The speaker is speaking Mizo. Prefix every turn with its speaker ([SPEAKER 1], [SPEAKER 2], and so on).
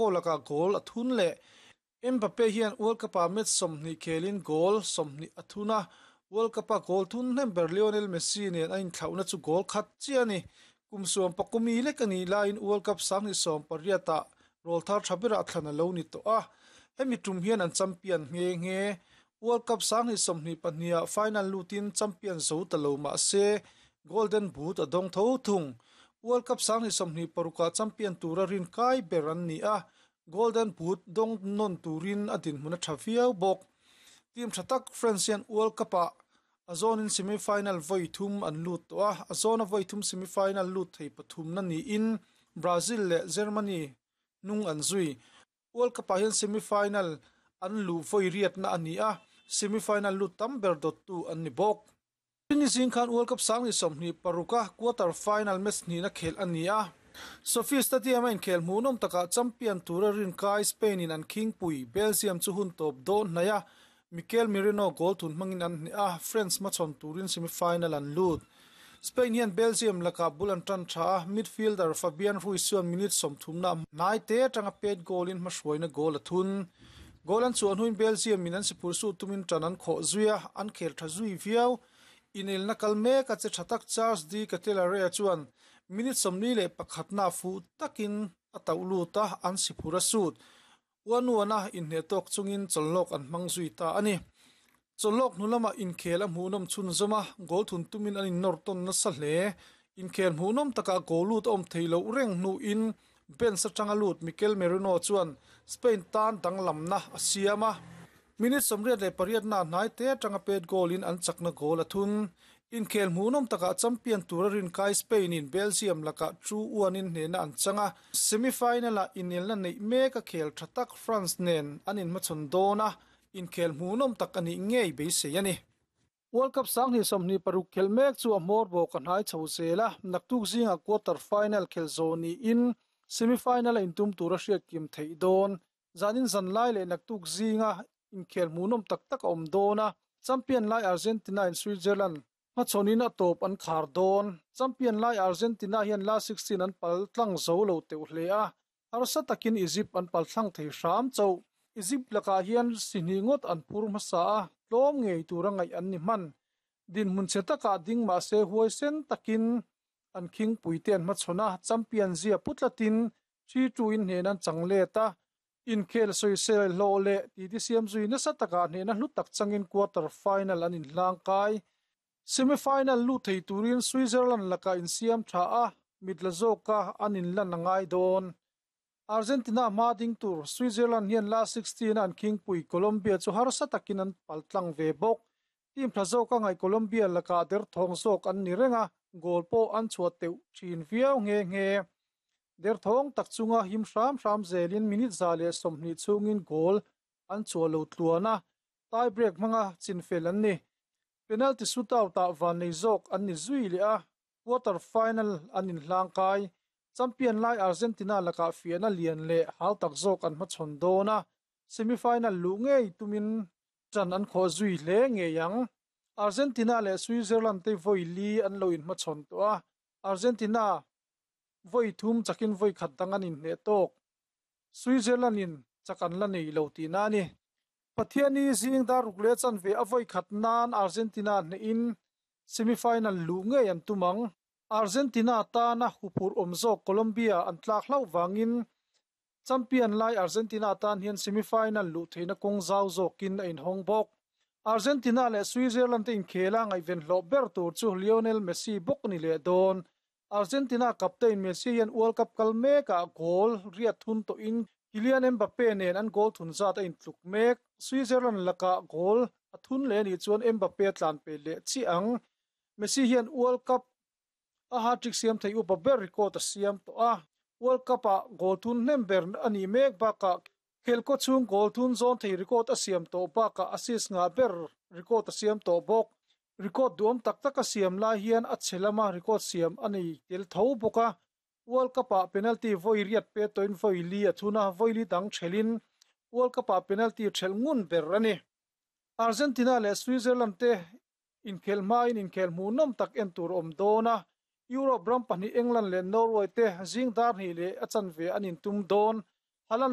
[SPEAKER 1] lakah goal a thun leh. Mbappe hian World Cup-ah match 20 khelin goal 20 a thun a, World Cup-a goal thun hnem ber Lionel Messi nen a inthlauhna chu goal khat chiah a ni. Kum suam pakumi lek a nih laiin World Cup 2018-ah rawl thar tha berah thlan a lo ni tawh a, hemi tum hian an champion nghe nghe. World Cup 2022-ah final lutin champion zo ta lo mah se Golden Boot a dawng tho thung. World Cup 2026-ah champion tura rin kai ber an ni a, Golden Boot dawng nawn turin a dinhmun a tha viau bawk. Team tha tak France hian World Cup-ah a zawnin semi-final vawi thum an lut tawh a, a zawna vawi thum semi-final lut thei pathumna niin Brazil leh Germany hnung an zui. World Cup-ah hian semi-final an luh vawi riatna a ni a, semi-final lut tam ber dawttu an ni bawk. Ni zing khan World Cup 2026-a quarter final match hnihna khelh a ni a. SoFi Stadium-a inkhel hmuhnawm takah champion tura rinkai Spain-in an khingpui Belgium chu hun tawp dawn hnaih a, Mikel Merino goal thun hmangin an hneh a, France hmachhawn turin semi-final an lut. Spain hian Belgium lakah bul an tan tha a, midfielder Fabian Ruiz chuan minute 30 na hnai te atanga pet goal-in hmahruaina goal a thun. Goal an chhuah hnuin Belgium in an sipur suh tumin tan an khawh zui a, an khel tha zui viau. Inelna kal mek a che tha tak Charles de Ketelaere chuan minute 41 na fuh takin a tauh lut a, an sipur a sut. Uanuana inhneh tawk chungin chawlhlawk an hmang zui ta a ni. Chawlhlawk hnu lamah inkhel a hmuhnawm chhunzawm a, goal thun tumin an innawr tawn nasa hle. Inkhel hmuhnawm takah goal lut a awm thei loh reng hnuin bench atanga lut Mikel Merino chuan Spain tan danglamna a siam a. Minute 88 na hnai te atanga pet goal in an chakna goal a thun. Inkhel hmuhnawm takah champion tura rinkai Spain in Belgium lakah 2-1 in hnehna an chang a. Semi-final-ah inelna neih mek a khel tha tak France nen an inhmachhawn dawn a, inkhel hmuhnawm tak a nih ngei beisei a ni. World Cup 2026 khelh mek chu a hmawr bawk a hnai chho zel a, naktuk zingah quarter final khel zawh niin semi-final a intum tura hriat kim theih dawn. Zanin zan lai leh naktuk zinga inkhel hmuhnawm tak tak a awm dawn a, champion lai Argentina in Switzerland hmachhawnin a tawp an khar dawn. Champion lai Argentina hian last 16 an pal tlang zo lo teuh hle a, harsa takin Egypt an pal thlang thei hram chauh. Egypt lakah hian sihnih ngawt an phur hmasa a, tlawm ngei tura ngaih an ni hman. Dinhmun chhe takah ding mah se huai sen takin an khingpui te an hmachhawn a, champion zia pu tlatin 3-2 in hnen an chang let a, inkhel sawisel hlawh leh titi siam zui nasa takah hnehna hlu tak changin quarter final an inhlang kai. Semi-final lut thei turin Switzerland lakah insiam tha a, mit la zawka an inlan a ngai dawn. Argentina hma ding tur Switzerland hian last 16 a an khingpui Colombia chu harsa takin an pal tlang ve bawk. Team tha zawka ngaih Colombia lakah derthawng zawk an ni reng a, goal pawh an chhuah teuh thin viau nghe nghe. Derthawng tak chunga him hram hram zelin minute 120 chhungin goal an chhuah lo tluan a, tie break hmanga chinfel an ni. Penalty shootout-ah van nei zawk an ni zui leh a, quarter final an inhlang kai. Champion lai Argentina lakah fiahna lian leh hau tak zawk an hmachhawn dawn a, semi-final luh ngei tumin tan an khawh zui hle ngei ang. Argentina leh Switzerland te vawi li an lo inhmachhawn tawh a, Argentina vawi thum chakin vawi khat dang an inhneh tawk. Switzerland in chak an la nei lo tihna a ni. Pathiani zing dar ruk leh chanve a vawi khat nan Argentina hnehin semi-final luh ngei an tum ang. Argentina tana huphurh awm zawk Colombia an tlak hlauh vangin champion lai Argentina tan hian semi-final luh theihna kawng zau zawkin a inhawng bawk. Argentina leh Switzerland te inkhela ngaihven hlawh ber tur chu Lionel Messi bawk ni leh dawn. Argentina captain Messi hian World Cup kal mekah goal riat thun tawhin Kylian Mbappe nen an goal thun zat a intluk mek. Switzerland lakah goal a thun leh anih chuan Mbappe a tlan pe leh chiah ang. Messi hian World Cup a hat-trick siam thei upa ber record a siam tawh a. World Cup-ah goal thun hnem ber a nih mek bakah khelkaw chhung goal thun zawn thei record a siam tawh bakah assist ngah ber record a siam tawh bawk. Record duam tak tak a siam lai hian a chhe lama record siam a nei tel tho bawk a. World Cup-ah penalty vawi riat pe tawhin vawi li a thun a, vawi li dang thelhin World Cup-ah penalty thelh ngun ber a ni. Argentina leh Switzerland te inkhel hmain inkhel hmuhnawm tak en tur awm dawn a, Europe ram pahnih England leh Norway te zing dar hnih leh a chanve an intum dawn. Haaland.